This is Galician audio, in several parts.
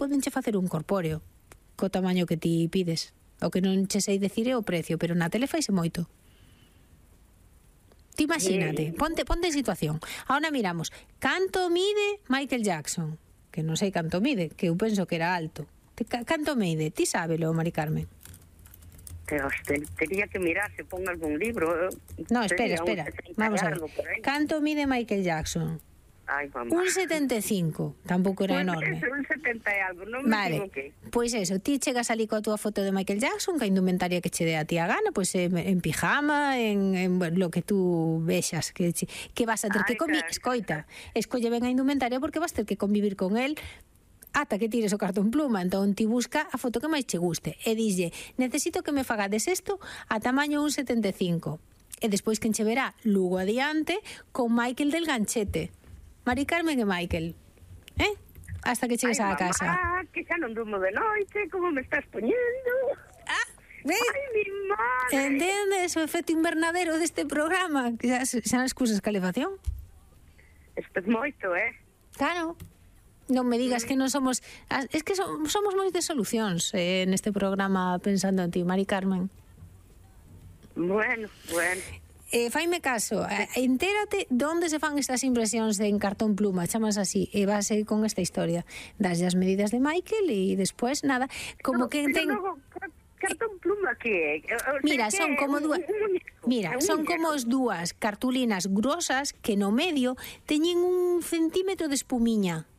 podenche facer un corpóreo co tamaño que ti pides. O que non che sei decir é o precio, pero na tele faise moito. Ti imagínate, ponte en situación. Ahora miramos, canto mide Michael Jackson? Que non sei canto mide, que eu penso que era alto. Canto mide? Ti sábelo, Mari Carmen? Tenía que mirar se pon algún libro. No, espera. Vamos a ver. Canto mide Michael Jackson? Ai, mamá. Un 75, tampouco era enorme. Un 70 e algo, non me equivoquei. Pois eso, ti chegas ali coa túa foto de Michael Jackson, que a indumentaria que che dé a ti a gana, pois en pijama, en lo que tú vexas, que vas a ter que convivir. Escoita, escolle ben a indumentaria porque vas ter que convivir con él ata que tires o cartón pluma. Entón ti busca a foto que máis che guste e dixlle, necesito que me fagades isto a tamaño 1,75. E despois quen che verá lugo adiante con Michael del ganchete. Mari Carmen e Michael, hasta que chegues á casa. Que xa non durmo de noite, como me estás poñendo. Ves? Ai, mi madre. Entendes o efecto invernadero deste programa? Que xa nas cousas calefacción. Isto é moito, Claro. Non me digas que non somos... Es que somos moi de solucións neste programa pensando en ti, Mari Carmen. Bueno. Faime caso, entérate onde se fan estas impresións en cartón pluma, chamas así, e vas con esta historia. Das as medidas de Michael e despois nada, como que ten... Cartón pluma que Mira, son como dúas... Mira, son como as dúas cartulinas grosas que no medio teñen 1 centímetro de espumiña.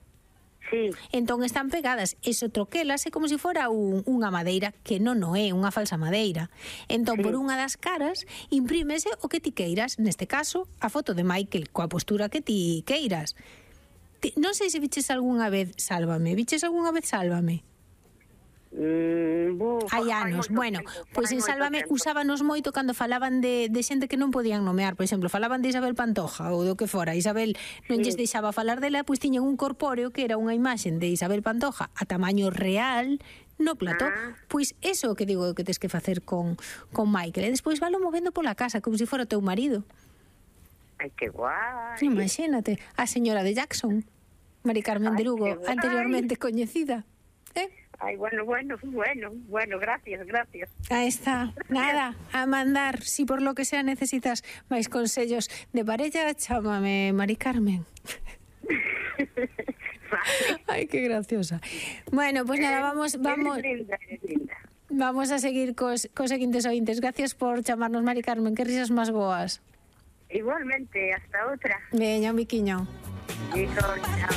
Sí. Entón están pegadas, eso troquelas é como se fora unha madeira, que non é unha falsa madeira. Entón, por unha das caras, imprímese o que ti queiras, neste caso, a foto de Michael, coa postura que ti queiras. Non sei se viches algunha vez Sálvame. Viches algunha vez Sálvame? Hai anos, bueno, pois en Sálvame usábanos moito cando falaban de xente que non podían nomear, por exemplo, falaban de Isabel Pantoja ou do que fora, Isabel non lles deixaba falar dela, pois tiñan un corpóreo que era unha imaxen de Isabel Pantoja a tamaño real no plató, pois eso que digo que tes que facer con Michael, e despois valo movendo pola casa como se fora teu marido. Ai, que guai. Imagínate, a señora de Jackson, Mari Carmen de Lugo, anteriormente coñecida. Ai, bueno, gracias. Ahí está, nada, a mandar, si por lo que sea necesitas máis consellos de parella, chámame Mari Carmen. Ay, qué graciosa. Bueno, pues nada, vamos a seguir cos seguintes ointes. Gracias por chamarnos, Mari Carmen, que risas máis boas. Igualmente, hasta outra. Veña, un biquiño. Hijo, chao.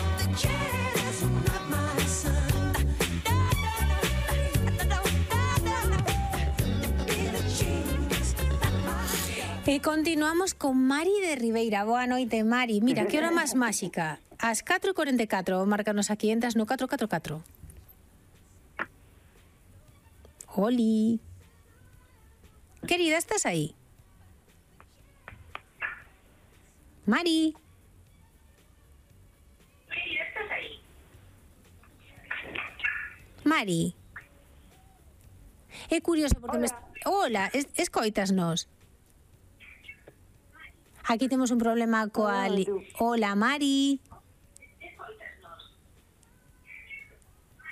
E continuamos con Mari de Ribeira. Boa noite, Mari. Mira, que hora máis máxica. As 4:44, márcanos aquí, entras no 444. Oli. Querida, estás aí? Mari. ¿Estás aí? Mari. É curioso porque Hola, escoitasnos. Aquí temos un problema coa... Hola, Mari.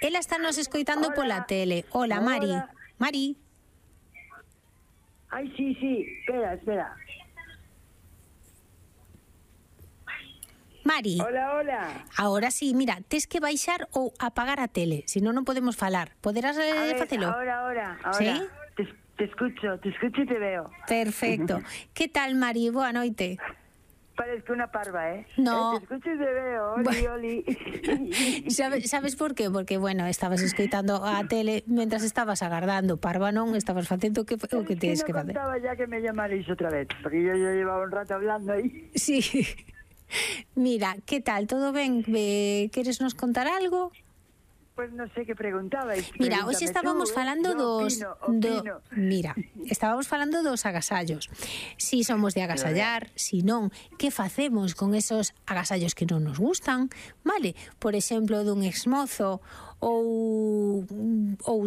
Ela está nos escoitando pola tele. Hola, Mari. Mari. Ai, sí. Espera. Mari. Hola. Ahora sí, mira, tes que baixar ou apagar a tele, senón non podemos falar. Poderás facelo? Ahora. ¿Sí? Te escucho y te veo. Perfecto. ¿Qué tal, Mari? Boa noite. Parezco una parva, ¿eh? No. Te escucho y te veo. Oli. ¿Sabes por qué? Porque, bueno, estabas escoitando a tele mentras estabas agardando. Parva non, estabas facendo o que tens que facer. No contaba ya que me llamaréis otra vez, porque yo llevaba un rato hablando ahí. Sí. Mira, ¿qué tal? ¿Todo ben? ¿Queres nos contar algo? Pues non sei que preguntabais. Mira, hoxe estábamos falando Mira, estábamos falando dos agasallos. Si somos de agasallar, si non, que facemos con esos agasallos que non nos gustan, vale? Por exemplo, dun exmozo ou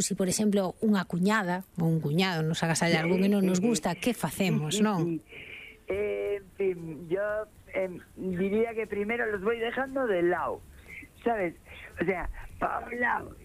si, por exemplo, unha cuñada ou un cuñado nos agasalla algo que non nos gusta, que facemos, non? En fin, yo diría que primero los voy dejando de lado, ¿sabes? O sea, Hola.